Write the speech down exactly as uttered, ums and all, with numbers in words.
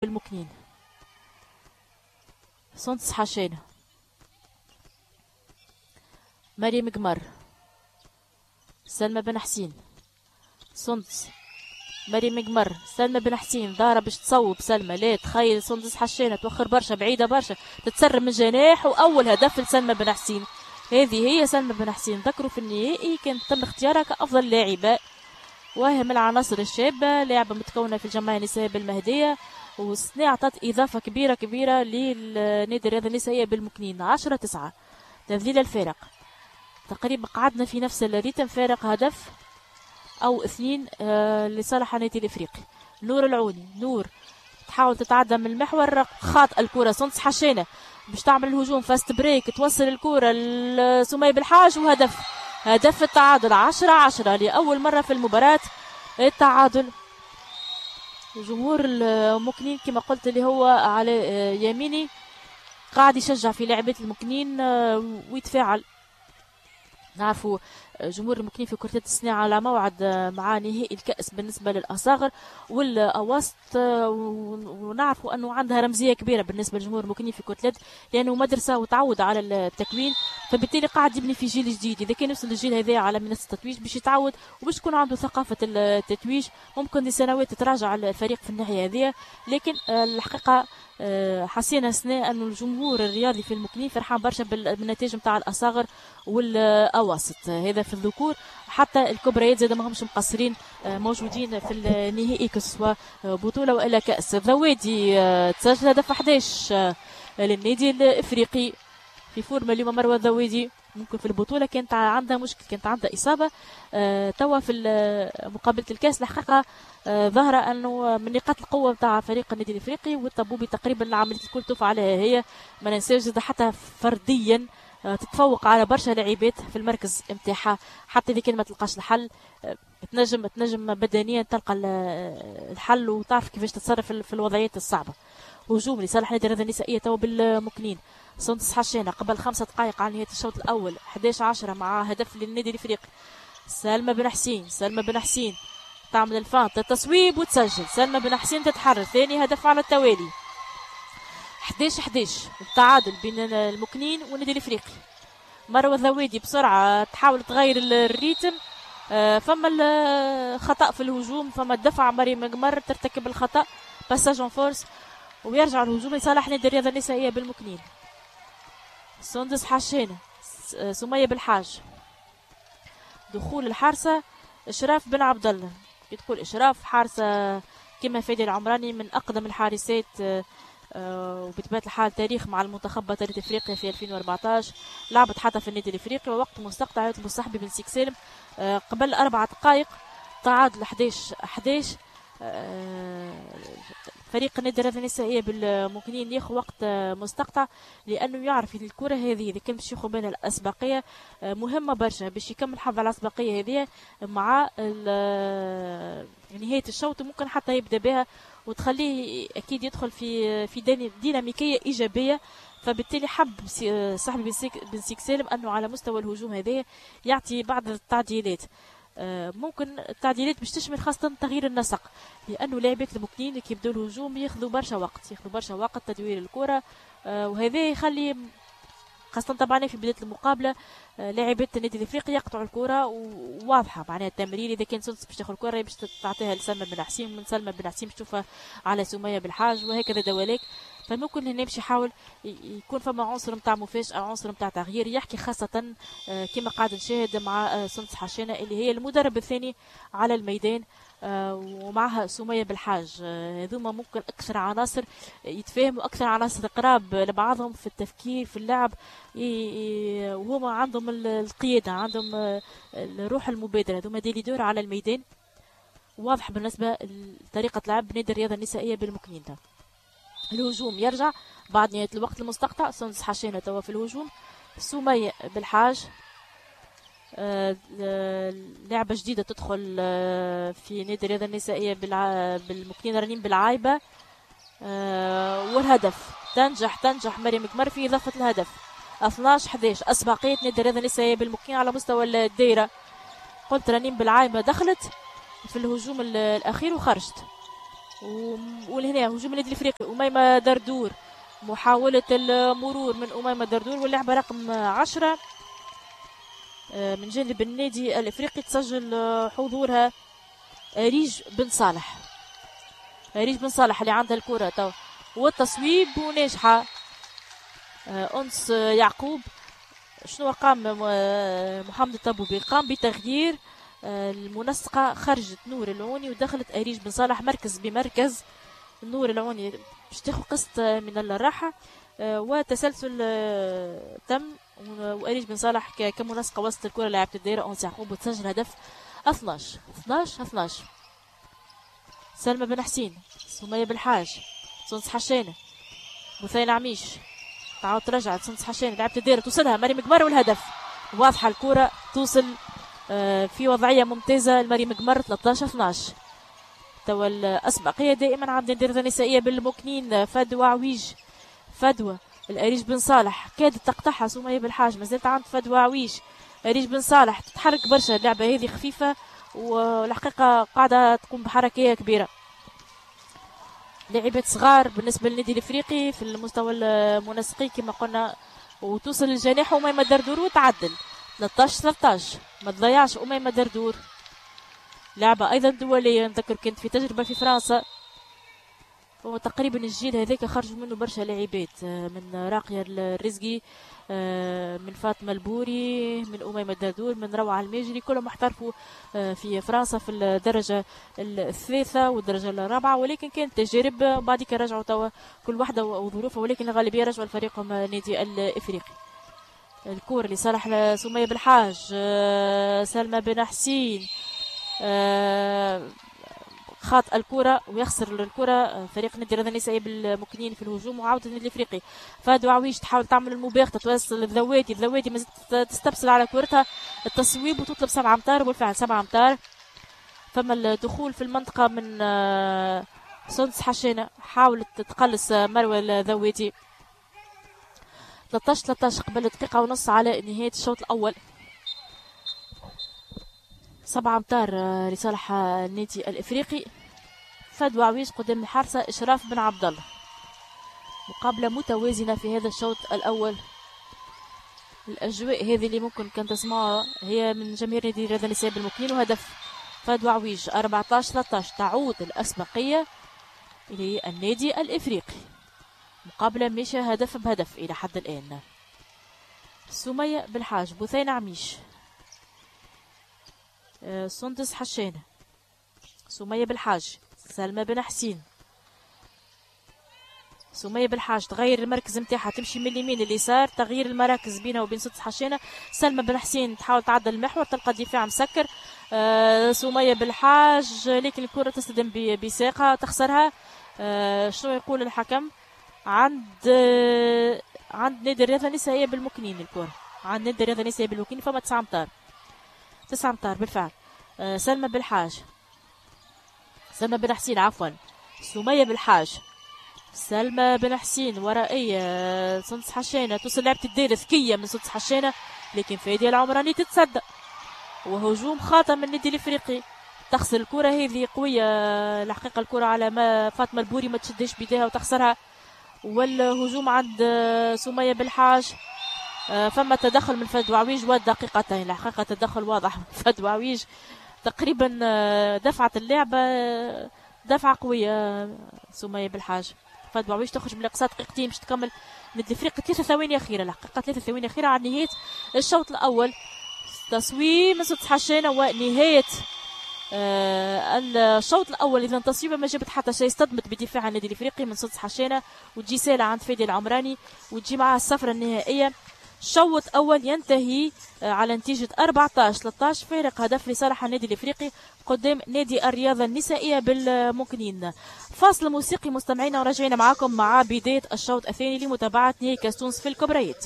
بالمكنين. سندس حشانة، مريم قمر، سلمى بن حسين، سندس، مريم قمر، سلمى بن حسين ظاهرة باش تصوب سلمى، لا تخيل سندس حشانة توخر برشا بعيدة برشا، تتسرب من جناح، وأول هدف لسلمى بن حسين. هذه هي سلمى بن حسين، ذكروا في النهائي كان تم اختيارها كأفضل لاعبة، وهي من العناصر الشابة، لاعبة متكونة في الجمعية النسائية بالمهدية، والسنة أعطت إضافة كبيرة كبيرة للنادي الرياضي النسائية بالمكنين. عشرة تسعة، تذليل الفارق، تقريبا قعدنا في نفس ال rythme، فارق هدف أو اثنين آه لصالح النادي الإفريقي. نور العوني، نور تحاول تتعدى من المحور، خاطئ الكرة سندس حشانة باش تعمل الهجوم fast break، توصل الكرة لسمية بالحاج، وهدف، هدف التعادل. عشرة عشرة لأول مرة في المباراة التعادل. جمهور المكنين كما قلت اللي هو على يميني قاعد يشجع في لاعبات المكنين ويتفاعل. نعرفوا جمهور المكنين في كرة السنة على موعد مع نهائي الكأس بالنسبة للأصاغر والأواسط، ونعرفوا أنه عندها رمزية كبيرة بالنسبة لجمهور المكنين في كرة، لأنه مدرسة وتعود على التكوين، فبالتالي قاعد يبني في جيل جديد. إذا كان يوصل الجيل هذا على منصة التتويج باش يتعود وباش تكون عنده ثقافة التتويج، ممكن لسنوات تتراجع الفريق في الناحية هذه. لكن الحقيقة حسينا سنة أنه الجمهور الرياضي في المكنين فرحان برشا بالنتائج نتاع الأصاغر والأواسط، هذا في الذكور. حتى الكبريات زاد ما همش مقصرين، موجودين في النهائي كسوا بطولة وإلا كأس. ذوادي تسجل هدف أحد عشر للنادي الإفريقي في forme اليوم. مروة الذوادي ممكن في البطولة كانت عندها مشكل، كانت عندها إصابة، توا في مقابلة الكاس الحقيقة ظهر أنه من نقاط القوة نتاع فريق النادي الإفريقي، والطبوبي تقريبا العملية الكل توفى عليها هي. ما ننساوش حتى فرديا تتفوق على برشا لاعبات في المركز نتاعها، حتى إذا كان ما تلقاش الحل تنجم تنجم بدنيا تلقى الحل وتعرف كيفاش تتصرف في الوضعيات الصعبة. هجوم لصالح نادي الرياضة النسائية تو بالمكنين. سندس حشانة قبل خمسة دقائق على نهاية الشوط الأول، أحد عشر عشرة مع هدف للنادي الإفريقي. سلمى بن حسين، سلمى بن حسين تعمل ال feinte، التصويب وتسجل. سلمى بن حسين تتحرر، ثاني هدف على التوالي. أحد عشر أحد عشر، التعادل بين المكنين والنادي الإفريقي. مروة الذوادي بسرعة تحاول تغير ال rythme، فما الخطأ في الهجوم، فما الدفع، مريم قمر ترتكب الخطأ، passage en force، ويرجع الهجوم لصالح نادي الرياضة النسائية بالمكنين. سندس حشانة، سمية بالحاج، دخول الحارسة إشراف بن عبد الله. تقول إشراف حارسة كما فادي العمراني من أقدم الحارسات، وبطبيعة الحال تاريخ مع المنتخب بطلة افريقيا في ألفين وأربعطاش، لعبت حتى في النادي الافريقي. ووقت مستقطع يطلب الصحبي بن سيك سالم قبل أربع دقائق، تعادل أحد عشر أحد عشر. فريق النادي الرياضي النسائية بالمكنين ياخذ وقت مستقطع، لأنه يعرف إن الكرة هذه إذا كان باش ياخذ بالها الأسبقية مهمة برشا باش يكمل حظ على الأسبقية هذه مع نهاية الشوط، وممكن حتى يبدأ بها وتخليه أكيد يدخل في في ديناميكية إيجابية. فبالتالي حب صاحبي بن سيك سالم أنه على مستوى الهجوم هذا يعطي بعض التعديلات. ممكن التعديلات باش تشمل خاصة تغيير النسق، لأنه لاعبات المكنين كي يبداو الهجوم ياخذوا برشا وقت، ياخذوا برشا وقت تدوير الكرة، وهذا يخلي خاصة طبعا في بداية المقابلة لاعبات النادي الافريقي يقطعوا الكرة، وواضحة معناها التمرير إذا كان سندس باش تاخذ الكرة باش تعطيها لسلمى بن حسين، من سلمى بن حسين باش تشوفها على سمية بالحاج، وهكذا دواليك. فممكن هنا باش يحاول يكون فما عنصر نتاع مفاجأة، عنصر نتاع تغيير، يحكي خاصة كما قاعد نشاهد مع سندس حشانة اللي هي المدرب الثاني على الميدان، ومعها سمية بالحاج. هذوما ممكن أكثر عناصر يتفاهموا، أكثر عناصر قراب لبعضهم في التفكير في اللعب، وهما عندهم القيادة، عندهم الروح المبادرة، هذوما des leaders على الميدان. واضح بالنسبة لطريقة لعب نادي الرياضة النسائية بالمكنين. الهجوم يرجع بعد نهاية الوقت المستقطع، سندس حشانة توا في الهجوم، سمية بالحاج، آه لعبة جديدة تدخل آه في نادي الرياضة النسائية بالمكنين، رنيم بالعايبة، آه والهدف تنجح تنجح مريم قمر في إضافة الهدف. اثناش أحد عشر، أسبقية نادي الرياضة النسائية بالمكنين على مستوى الدائرة. قلت رنيم بالعايبة دخلت في الهجوم الأخير وخرجت. ولهنا هجوم النادي الافريقي، اميمة دردور، محاولة المرور من اميمة دردور، واللعبة رقم عشرة من جانب النادي الافريقي تسجل حضورها اريج بن صالح. اريج بن صالح اللي عندها الكره تو، والتصويب وناجحة انس يعقوب. شنو قام محمد الطبوبي؟ قام بتغيير المنسقة، خرجت نور العوني ودخلت أريج بن صالح مركز بمركز. نور العوني باش تاخذ قسط من الراحة، وتسلسل تم، وأريج بن صالح كمنسقة وسط الكرة لاعبة الدائرة أنس يعقوب، وتسجل هدف اثناش اثناش اثناش. سلمى بن حسين، سمية بالحاج، سندس حشانة، بثينة عميش، تعاود ترجع سندس حشانة لعبة الدائرة، توصلها مريم قمر والهدف. واضحة الكرة توصل في وضعية ممتازة لمريم قمر. ثلاثة عشر اثناش. توا الأسبقية دائما عند الدائرة النسائية بالمكنين. فدوى عويج، فدوى الأريج بن صالح كادت تقطعها سمية بالحاج، ما زالت عند فدوى عويج. أريج بن صالح تتحرك برشا، اللعبة هذه خفيفة والحقيقة قاعدة تقوم بحركية كبيرة. لاعبات صغار بالنسبة للنادي الإفريقي في المستوى المنسقي كما قلنا، وتوصل للجناح أميمة دردور وتعدل. ثلاثة عشر ثلاثة عشر. ما تضيعش أميمة دردور، لعبة أيضا دولية، نذكر كانت في تجربة في فرنسا، وتقريبا الجيل هذاك خرجوا منه برشا لاعبات، من راقية الرزقي، من فاطمة البوري، من أميمة دردور، من روعة الماجري، كلهم احترفوا في فرنسا في الدرجة الثالثة والدرجة الرابعة، ولكن كانت تجارب بعد رجعوا توا كل واحدة وظروفها، ولكن الغالبية رجعوا لفريقهم النادي الإفريقي. الكور لصالح سمية بالحاج، سلمى بن حسين، خاط الكرة ويخسر الكرة فريق نادي الرياضة النسائي بالمكنين في الهجوم، وعودة النادي الافريقي. فادو عويش تحاول تعمل المباغتة، توصل الذوادي، الذوادي ما تستبسل على كرتها، التصويب وتطلب سبعة امتار، وبالفعل سبعة امتار. فما الدخول في المنطقة من سندس حشانة، حاولت تقلص مروة الذوادي. ثلاثة عشر ثلاثة عشر قبل دقيقة ونص على نهاية الشوط الأول. سبعة أمتار لصالح النادي الإفريقي. فدوى عويش قدام الحارسة إشراف بن عبد الله. مقابلة متوازنة في هذا الشوط الأول. الأجواء هذه اللي ممكن كان تسمعها هي من جماهير نادي الرياضة النسائي بالمكنين، وهدف فدوى عويش. أربعة عشر ثلاثة عشر، تعود الأسبقية للنادي الإفريقي. مقابلة ماشية هدف بهدف إلى حد الآن. سمية بالحاج، بثينة عميش، آه، سندس حشانة، سمية بالحاج، سلمى بن حسين. سمية بالحاج تغير المركز نتاعها، تمشي من اليمين لليسار، تغيير المراكز بينها وبين سندس حشانة. سلمى بن حسين تحاول تعدل المحور، تلقى الدفاع مسكر. آه سمية بالحاج، لكن الكرة تصطدم بساقها تخسرها. آه شنو يقول الحكم؟ عند آه عند نادي الرياضة النسائية بالمكنين، الكرة عند نادي الرياضة النسائية بالمكنين. فما تسعة امتار، تسعة امتار بالفعل. آه سلمى بالحاج، سلمى بن حسين عفوا، سمية بالحاج، سلمى بن حسين ورائية سندس حشانة، توصل لعبة الدائرة ذكية من سندس حشانة، لكن فادية العمراني تتصدى، وهجوم خاطئ من النادي الافريقي. تخسر الكرة هذه قوية الحقيقة، الكرة على ما فاطمة البوري ما تشدش بيديها وتخسرها، والهجوم عند سمية بالحاج. آه، فما تدخل من فدوى عويج ودقيقتين، الحقيقة تدخل واضح من فدوى عويج، تقريبا آه، دفعت اللعبة دفعة قوية سمية بالحاج. فدوى عويش تخرج من الاقصاء، دقيقتين باش تكمل نادي الافريقي، ثلاثة ثواني أخيرة، الحقيقة ثلاثة ثواني أخيرة على نهاية الشوط الأول. تصويب من سندس حشانة ونهاية آه الشوط الأول. إذا تصويبة ما جابت حتى شيء، اصطدمت بدفاع النادي الإفريقي من سندس حشانة، وتجي سالة عند فادي العمراني وتجي معها الصفرة النهائية. شوط أول ينتهي آه، على نتيجة أربعة عشر ثلاثة عشر، فارق هدف لصالح النادي الإفريقي قدام نادي الرياضة النسائية بالمكنين. فاصل موسيقي مستمعينا وراجعين معكم مع بداية الشوط الثاني لمتابعة نهائي كاس تونس في الكبريات.